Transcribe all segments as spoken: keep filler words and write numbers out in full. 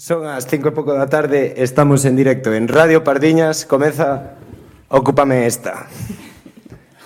Son as cinco e pouco da tarde, estamos en directo en Radio Pardiñas, comeza Ocúpame Esta.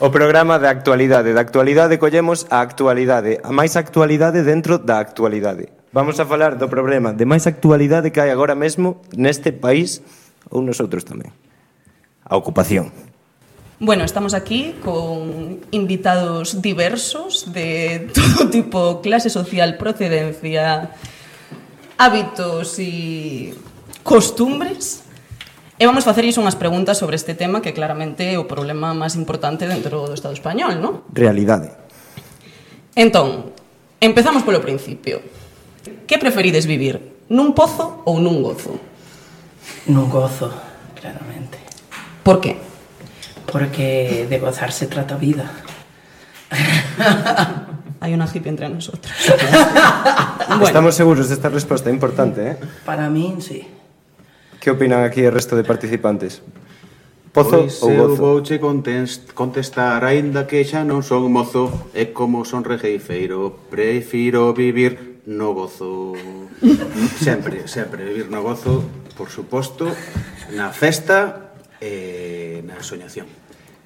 O programa de actualidade. Da actualidade collemos a actualidade, a máis actualidade dentro da actualidade. Vamos a falar do problema de máis actualidade que hai agora mesmo neste país, ou nosotros tamén. A ocupación. Bueno, estamos aquí con invitados diversos de todo tipo, clase social, procedencia, hábitos e costumbres. E vamos facerlles unhas preguntas sobre este tema que claramente é o problema máis importante dentro do Estado español, non? Realidade. Entón, empezamos polo principio. Que preferides vivir? Nun pozo ou nun gozo? Nun gozo, claramente. Por que? Porque de gozar se trata a vida. Hai unha hippie entre nosotros. Bueno. Estamos seguros desta resposta, é importante, eh? Para min, sí. Que opinan aquí o resto de participantes? Pozo pois ou gozo? Pois eu vouche contestar, aínda que xa non son mozo, e como son regueifeiro, prefiro vivir no gozo. Sempre, sempre vivir no gozo, por suposto, na festa e na soñación.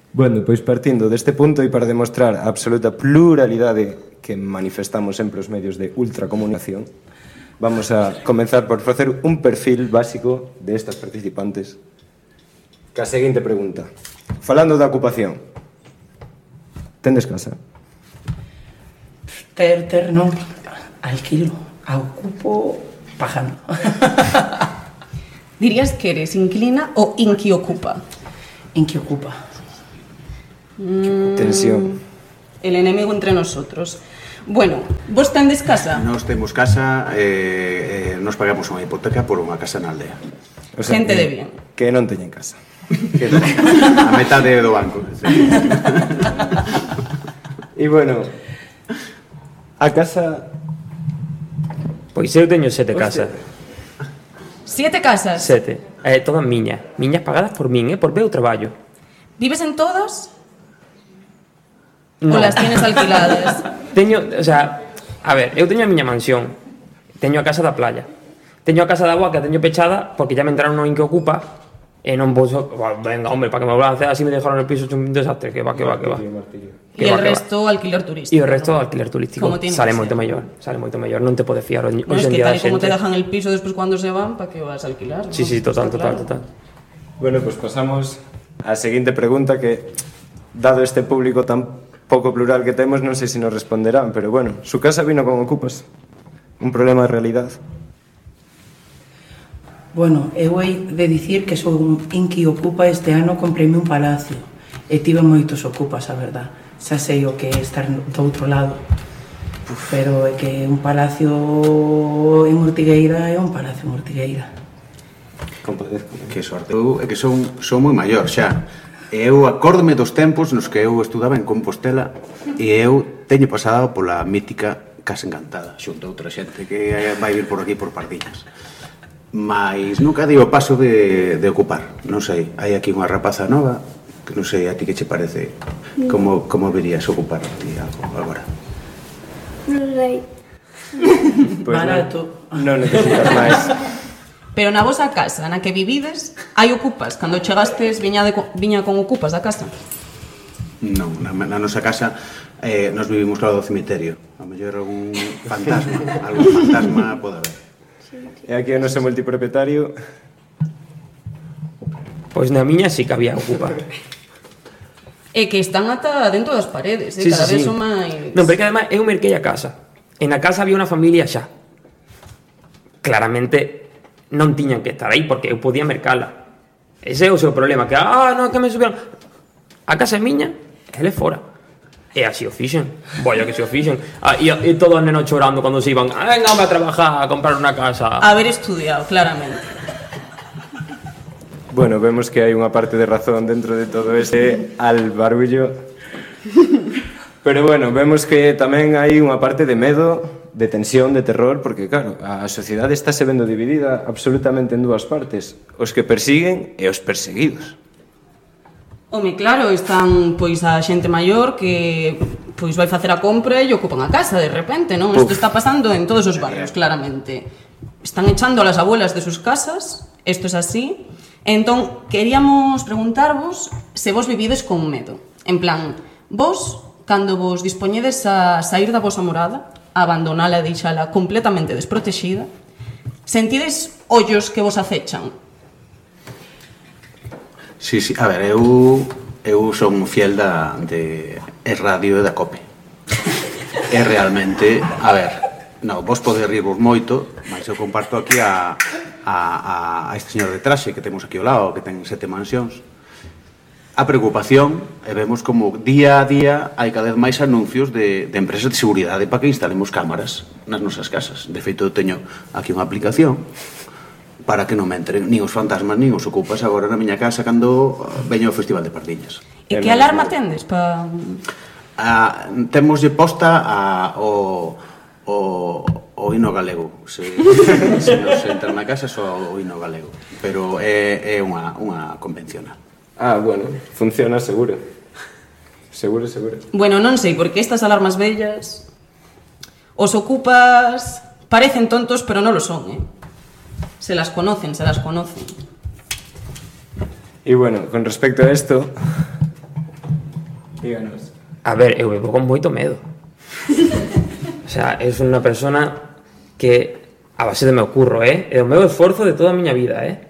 Bueno, pois partindo deste punto e para demostrar a absoluta pluralidade que manifestamos sempre os medios de ultracomunicación, vamos a comenzar por facer un perfil básico de estas participantes. Que a seguinte pregunta. Falando da ocupación. Tendes casa? Ter, ter, non. Alquilo. A ocupo pagando. Dirías que eres inclina ou inquiocupa? Inquiocupa. Mm, Tensión. El enemigo entre nosotros. Bueno, vos tendes casa? Nos temos casa e eh, eh, nos pagamos unha hipoteca por unha casa na aldea. O sea, Gente que, de bien. Que non teñen casa. Que a metade do banco. E bueno, a casa... Pois eu teño sete casas. Siete casas? Sete. Eh, todas miñas. Miñas pagadas por min, eh, por meu traballo. Vives en todas? No. Ou las tienes alquiladas? Teño, o sea, a ver, eu teño a miña mansión. Teño a casa da playa. Teño a casa da agua que a teño pechada porque ya me entraron no que ocupa e non vou... Bueno, venga, hombre, para que me balance así me dejaron el piso hecho un desastre. Que va, que va, que va. E el resto alquiler turístico. E o resto alquiler turístico. Sale moito mellor. Sale moito mellor. Non te podes fiar hoxe en día da xente. No, es que tal e como te dejan el piso despois cando se van, para que vas a alquilar, ¿no? Sí, sí, total, total, total. Bueno, pues pasamos á seguinte pregunta que, dado este público tan pouco plural que temos, non sei se nos responderán, pero bueno, su casa vino con ocupas. Un problema de realidad. Bueno, eu hei de dicir que sou un inquiocupa. Este ano comprei un palacio e tive moitos ocupas, a verdad. Xa sei o que é estar do outro lado, pero é que un palacio en Ortigueira é un palacio en Ortigueira. Compadezco. Que sorte. Eu é que son, son moi maior xa. Eu acórdome dos tempos nos que eu estudaba en Compostela e eu teño pasado pola mítica Casa Encantada xunto a outra xente que vai vir por aquí por Pardiñas. Mais nunca digo o paso de, de ocupar. Non sei, hai aquí unha rapaza nova que non sei a ti que che parece. Como, como verías ocupar a ti algo agora? Non sei. Pues barato. Non, non necesitas máis. Pero na vosa casa, na que vivides, hai ocupas? Cando chegastes, viña, de, viña con ocupas da casa? Non, na, na nosa casa eh, nos vivimos claro do cemiterio. A mellor algún fantasma, algún fantasma pode haber. E aquí o noso multipropietario. Pois na miña sí que había ocupa. É que están ata dentro das paredes, eh? Sí, Cada sí, vez sí. son máis... Non, pero que además eu merquei a casa. En a casa había unha familia xa. Claramente non tiñan que estar aí porque eu podía mercala. Ese é o seu problema, que ah, non, que me subieron. A casa é miña, ele fora. E así o fixen. Vaya que se o fixen. Ah, e, e todos os nenos chorando cando se iban. Ah, venga, a trabajar, a comprar unha casa. Haber estudiado, claramente. Bueno, vemos que hai unha parte de razón dentro de todo ese albarullo. Pero bueno, vemos que tamén hai unha parte de medo, de tensión, de terror, porque claro, a sociedade está se vendo dividida absolutamente en dúas partes, os que persiguen e os perseguidos. Home, claro, están pois a xente maior que pois vai facer a compra e ocupan a casa de repente, non? Isto está pasando en todos os barrios, claramente. Están echando a las abuelas de sus casas, isto es así. Entón, queríamos preguntarvos se vos vivides con medo. En plan, vos, cando vos dispoñedes a sair da vosa morada, a abandonala e deixala completamente desprotexida, sentides ollos que vos acechan? Sí, sí, a ver, eu eu son fiel da de e radio e da COPE. É realmente, a ver, no, vos podedes rirvos moito, mas eu comparto aquí a, a, a este señor de traxe que temos aquí ao lado, que ten sete mansións. A preocupación, e vemos como día a día hai cada vez máis anuncios de, de empresas de seguridade para que instalemos cámaras nas nosas casas. De feito, eu teño aquí unha aplicación para que non me entren nin os fantasmas nin os ocupas agora na miña casa cando veño ao Festival de Pardiñas. E que alarma tendes pa... Ah, temoslle posta a, o, o, o hino galego. Se, se nos entra na casa só o hino galego. Pero é, é unha, unha convencional. Ah, bueno, funciona seguro. Seguro, seguro. Bueno, non sei, porque estas alarmas bellas os ocupas parecen tontos, pero non lo son, eh? Se las conocen, se las conocen. Y bueno, con respecto a esto, díganos. A ver, eu vivo con moito medo. O sea, es unha persona que a base de meu curro, eh? É o meu esforzo de toda a miña vida, eh?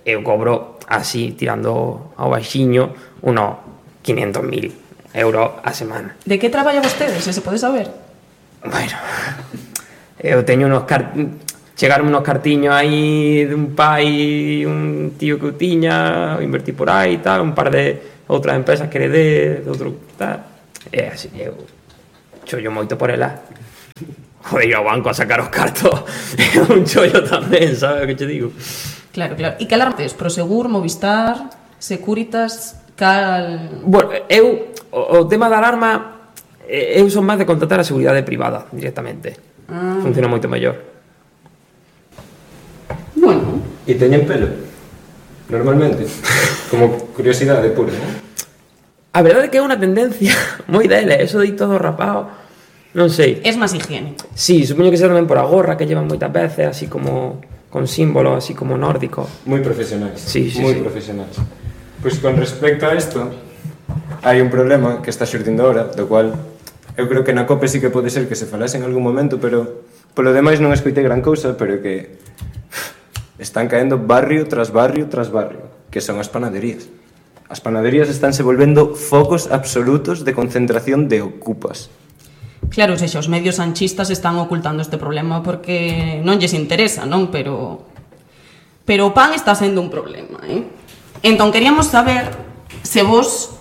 Eu cobro así, tirando ao baxiño, unos quinientos mil euros a semana. De que traballa vostede, se se pode saber? Bueno, eu teño unos cartiños, chegaron unos cartiños aí de un pai, un tío que eu tiña, invertí por aí e tal, un par de outras empresas que heredé, de outro tal. E así, eu chollo moito por ela. Joder, ir ao banco a sacar os cartos é un chollo tamén, sabes o que te digo? Claro, claro. E que alarma tes? Prosegur, Movistar, Securitas, cal... Bueno, eu, o, o tema da alarma, eu son máis de contratar a seguridade privada directamente. Ah. Funciona moito mellor. Bueno. ¿Y teñen pelo? Normalmente. Como curiosidade pura, ¿no? A verdade é que é unha tendencia moi dele, eso de ir todo rapado, non sei. Es máis higiénico. Sí, supoño que será tamén por a gorra que llevan moitas veces, así como con símbolos, así como nórdicos. Muy profesionales. Sí, sí, Muy sí. profesionales. Pues con respecto a esto, hai un problema que está xurdindo ahora, do cual eu creo que na COPE sí que pode ser que se falase en algún momento, pero polo demais non escoitei gran cousa, pero que están caendo barrio tras barrio tras barrio, que son as panaderías. As panaderías estánse volvendo focos absolutos de concentración de ocupas. Claro, sexa, os medios sanchistas están ocultando este problema porque non lles interesa, non? Pero pero o pan está sendo un problema, eh? Entón, queríamos saber se vos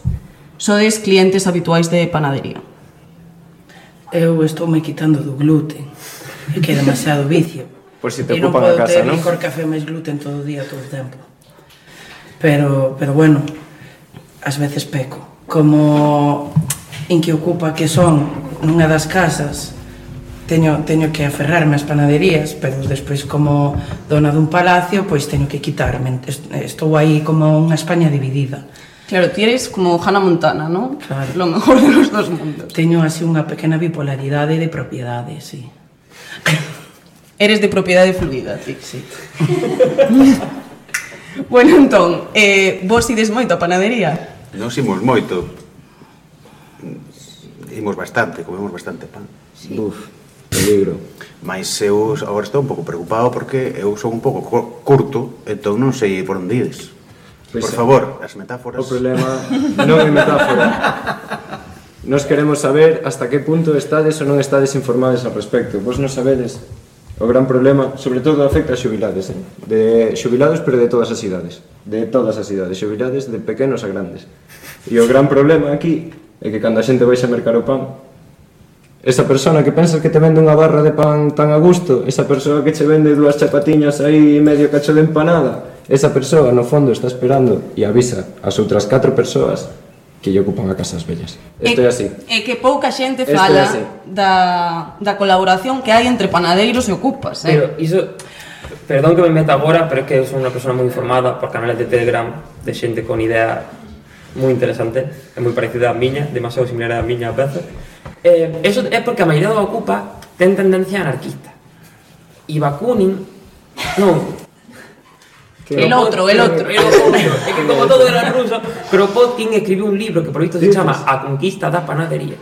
sodes clientes habituais de panadería. Eu estou me quitando do gluten, que é demasiado vicio. Por si te e non ocupan a podo casa, ter non? licor, café máis gluten todo o día, todo o tempo. Pero, pero bueno, ás veces peco. Como en que ocupa que son nunha das casas, teño, teño que aferrarme ás panaderías, pero despois como dona dun palacio, pois teño que quitarme. Estou aí como unha España dividida. Claro, ti eres como Hannah Montana, ¿no? Claro. Lo mejor de los dos mundos. Teño así unha pequena bipolaridade de propiedade, sí. Eres de propiedade fluida, ti. Sí. Bueno, entón, eh, vos ides moito a panadería? Non imos moito. Imos bastante, comemos bastante pan. Sí. Uf, peligro. Mas eu agora estou un pouco preocupado porque eu son un pouco curto, entón non sei por onde ides. Pois Por é. favor, as metáforas... O problema non é metáfora. Nos queremos saber hasta que punto estades ou non estades informados ao respecto. Vos non sabedes o gran problema, sobre todo afecta a xubilados, eh? De xubilados, pero de todas as idades. De todas as idades, xubilados de pequenos a grandes. E o gran problema aquí é que cando a xente vai a mercar o pan, esa persona que pensas que te vende unha barra de pan tan a gusto, esa persoa que che vende dúas chapatiñas aí medio cacho de empanada, esa persoa no fondo está esperando e avisa as outras catro persoas que lle ocupan a casas bellas. Isto é así. É que pouca xente Isto é fala así. da, da colaboración que hai entre panadeiros e ocupas, eh? Pero iso, perdón que me meta agora, pero é que eu son unha persona moi informada por canales de Telegram de xente con idea moi interesante, é moi parecida á miña, demasiado similar á miña a veces. Eh, eso é porque a maioría dos ocupas ten tendencia anarquista. E Bakunin, non, El outro, el outro. El outro. É que como todo era ruso, Kropotkin escribiu un libro que por visto se chama A conquista da panadería.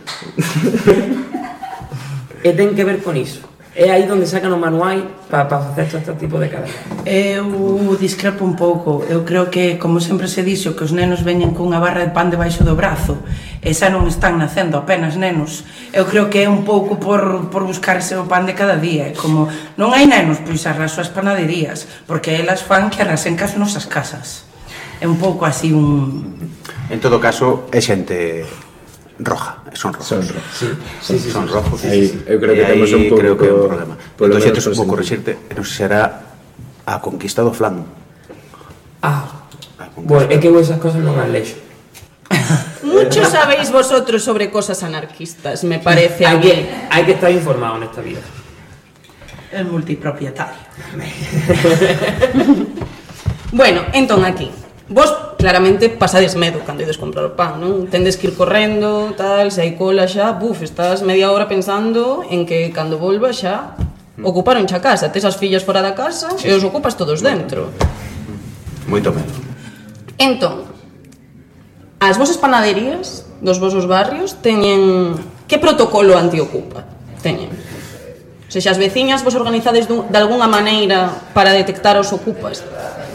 E ten que ver con iso. É aí onde sacan o manual para pa facer todo este tipo de cadena. Eu discrepo un pouco. Eu creo que, como sempre se dixo, que os nenos veñen cunha barra de pan debaixo do brazo e xa non están nacendo apenas nenos. Eu creo que é un pouco por, por buscarse o pan de cada día. É como, non hai nenos, pois arraso as panaderías, porque elas fan que arrasen cas nosas casas. É un pouco así un... En todo caso, é xente roja, son rojos. Son rojos. Sí, sí, sí, son sí, rojos. Aí, eu creo que E temos un pouco creo que é un problema. polo Entón, xente, menos vou así. corrixirte, non sei se será a conquista do flan. Ah, A conquista. bueno, é que eu esas cosas non as lexo. Mucho sabéis vosotros sobre cosas anarquistas, me parece a Hai mí. que, hai que estar informado nesta vida. El multipropietario. Bueno, entón aquí, vos claramente pasades medo cando ides comprar o pan, non? Tendes que ir correndo, tal, se hai cola xa, buf, estás media hora pensando en que cando volva xa ocuparon xa casa, tes as fillas fora da casa e os ocupas todos dentro. Moito medo. Entón, as vosas panaderías dos vosos barrios teñen que protocolo antiocupa teñen? O sea, as veciñas vos organizades dun, de alguna maneira para detectar os ocupas?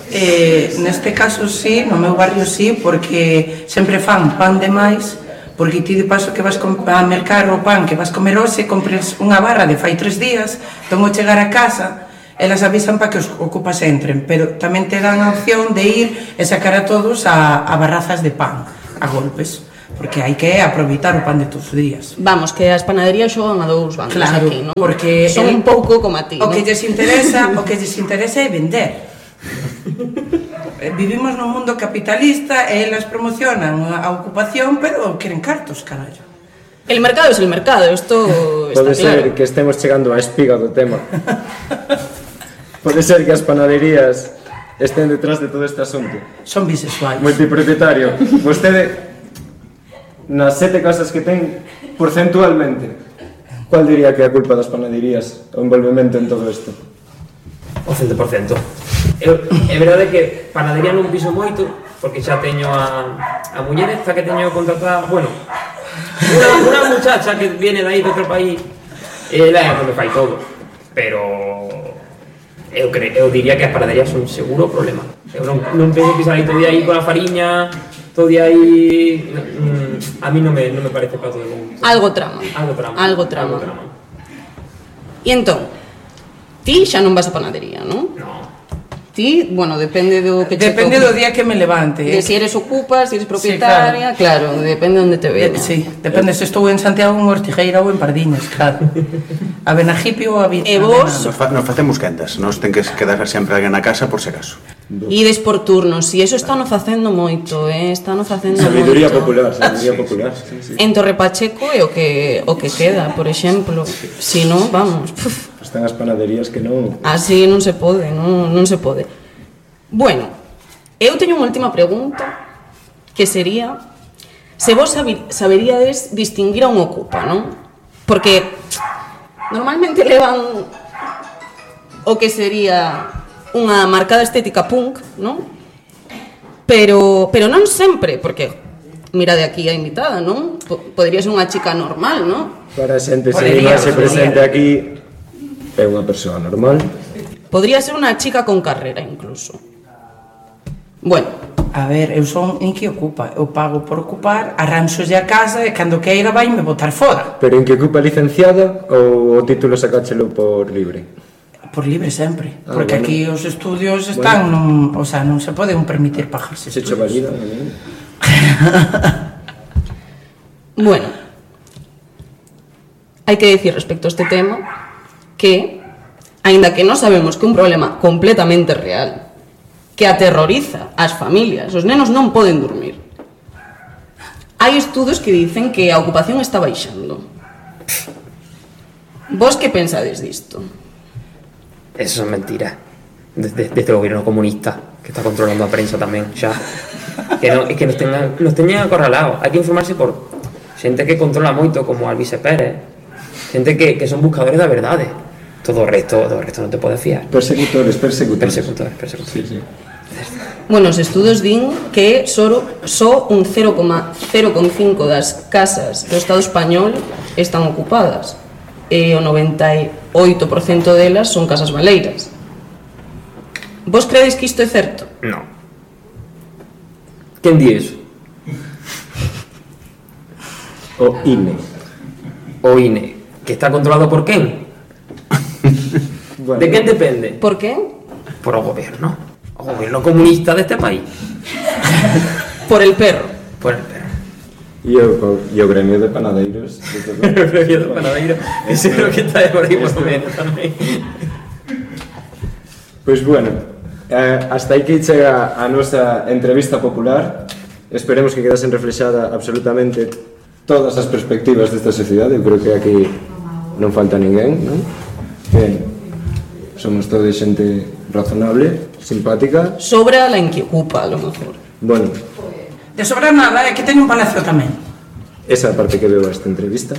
Eh, neste caso sí, no meu barrio sí, porque sempre fan pan de máis, porque ti de paso que vas a mercar o pan que vas comer hoxe, compres unha barra de fai tres días, entón ao chegar a casa elas avisan para que os ocupas entren, pero tamén te dan a opción de ir e sacar a todos a, a barrazas de pan, a golpes, porque hai que aproveitar o pan de todos os días. Vamos, que as panaderías xogan a dous bandos Claro, aquí, non? porque son el- un pouco como a ti, O non? que lles interesa, o que lles interesa é vender. Vivimos nun mundo capitalista e elas promocionan a ocupación, pero queren cartos, carallo. El mercado es el mercado, esto está Pode ser claro. que estemos chegando á espiga do tema. Pode ser que as panaderías estén detrás de todo este asunto. Son bisexuais. Multipropietario, vostede nas sete casas que ten porcentualmente, cual diría que é a culpa das panaderías o envolvemento en todo isto? O cento por cento. Eu, é verdade que panadería non piso moito, porque xa teño a, a muller esta que teño contratada, bueno, una, una muchacha que viene de aí de outro país, ela é a que me fai todo, pero eu, cre, eu diría que as panaderías son seguro o problema. Eu non, non penso pisar aí todo día aí con a fariña, todo día aí, mm, a mí non me, non me parece para todo el mundo. Algo trama. Algo trama. Algo trama. Algo trama. E entón, ti xa non vas a panadería, non? No. Ti, bueno, depende do que che Depende toque. do día que me levante. De eh. si eres ocupa, si eres propietaria, sí, claro. claro, depende onde te Eh, veña. Sí, depende se estou en Santiago, en Ortigueira ou en Pardiñas, claro. A Benajipi ou a Vita. E vos? Nos, fa, nos facemos quendas, nos ten que quedar sempre alguén na casa por se acaso. Ides por turnos, e eso están facendo moito, eh? Están facendo Sabiduría moito. popular, sabiduría popular. Sí, sí. En Torre Pacheco é o que, o que queda, por exemplo. Si non, vamos, puf, Están as panaderías que non... así non se pode, non, non se pode. Bueno, eu teño unha última pregunta, que sería se vos sabi, saberíades distinguir a un ocupa, non? Porque normalmente levan o que sería unha marcada estética punk, non? Pero, pero non sempre, porque mira de aquí a invitada, non? P- Podería ser unha chica normal, non? Para a xente se Podería, se podería. presente aquí é unha persoa normal. Podría ser unha chica con carrera, incluso. Bueno, A ver, eu son en que ocupa. Eu pago por ocupar, arranxolle a casa e cando queira vai me botar fora. Pero en que ocupa licenciada ou o título sacáchelo por libre? Por libre sempre, Ah, porque bueno. aquí os estudios están, non, o sea, non se poden permitir pagarse Se cho estudios. valida, non? bueno. Hai que decir respecto a este tema que, aínda que non sabemos que un problema completamente real que aterroriza ás familias, os nenos non poden dormir. Hai estudos que dicen que a ocupación está baixando. Vos que pensades disto? Eso es mentira. Desde, desde el gobierno comunista, que está controlando a prensa tamén, xa. Que, no, que nos teñan, nos teñan acorralados. Hai que informarse por xente que controla moito, como Alvise Pérez, xente que, que son buscadores da verdade. Todo o resto, todo o resto non te podes fiar. Persecutores, persecutores. Persecutores, persecutores. Sí, sí. Bueno, os estudos din que só, só un cero coma cero cinco das casas do Estado español están ocupadas e o noventa e oito por cento delas son casas baleiras. Vos credes que isto é certo? No. Quen di eso? O I N E. O I N E. Que está controlado por quen? Bueno, De quen depende? Por que? Por o goberno. O goberno comunista deste país. Por el perro. Por el perro. E o, e o gremio de panadeiros. de todo. O gremio do panadeiro. Ese creo que está de por aí por o menos tamén. Pois bueno, eh, hasta aquí chega a nosa entrevista popular. Esperemos que quedasen reflexada absolutamente todas as perspectivas desta sociedade. Eu creo que aquí non falta ninguén, non? Que somos todos xente razonable, simpática. Sobra la en que ocupa, a lo mejor. Bueno, De sobrar nada, é que teño un palacio tamén. esa é a parte que veo esta entrevista.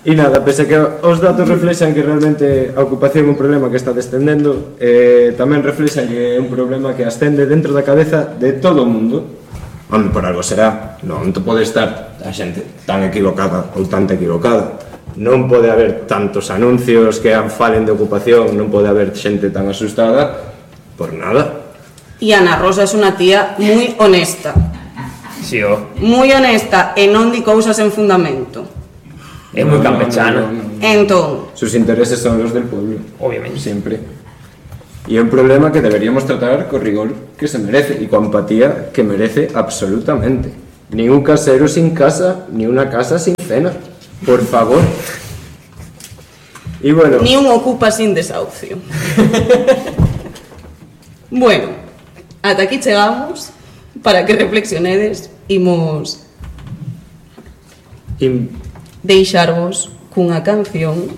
E nada, pese a que os datos reflexan que realmente a ocupación é un problema que está descendendo, eh, tamén reflexan que é un problema que ascende dentro da cabeza de todo o mundo. Onde por algo será, non pode estar a xente tan equivocada ou tanta equivocada. Non pode haber tantos anuncios que falen de ocupación, non pode haber xente tan asustada por nada. E Ana Rosa é unha tía moi honesta. Si, o. Moi honesta e non di cousas en fundamento. É moi No, no, campechano. no, no, no. Entón, Sus intereses son los del pueblo. Obviamente. Siempre. Y es un problema que deberíamos tratar con rigor que se merece y con empatía que merece absolutamente. Ni un casero sin casa, ni una casa sin cena. Por favor. Y bueno, ni un ocupa sin desahucio. Bueno, ata aquí chegamos. Para que reflexionedes, imos y- deixarvos cunha canción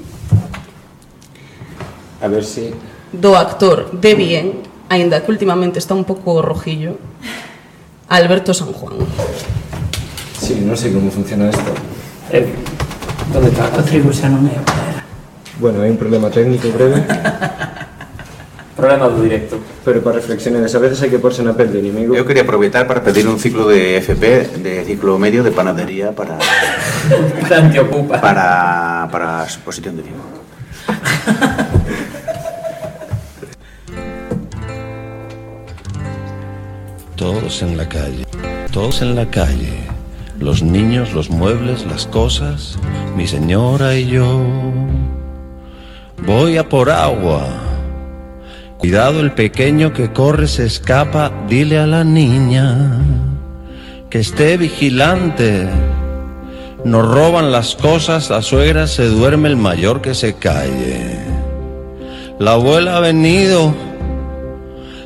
a ver si... do actor de Bien, aínda que últimamente está un pouco rojillo, Alberto San Juan. Sí, no sé cómo funciona esto. Eh, ¿Dónde está? O trigo xa non é o que era. Bueno, hay un problema técnico breve, Problema do directo. pero para reflexionar, a veces hay que ponerse na pel de enemigo. Eu quería aproveitar para pedir un ciclo de F P, de ciclo medio de panadería para Para antiocupa. para para a exposición de Vigo. Todos en la calle, todos en la calle, los niños, los muebles, las cosas, mi señora y yo. Voy a por agua. Cuidado, el pequeño que corre se escapa, dile a la niña que esté vigilante. Nos roban las cosas, la suegra se duerme, el mayor que se calle. La abuela ha venido,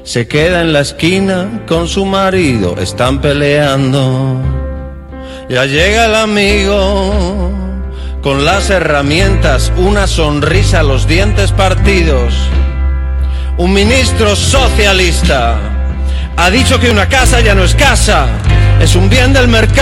se queda en la esquina con su marido, están peleando. Ya llega el amigo con las herramientas, una sonrisa, los dientes partidos. Un ministro socialista ha dicho que una casa ya no es casa, es un bien del mercado.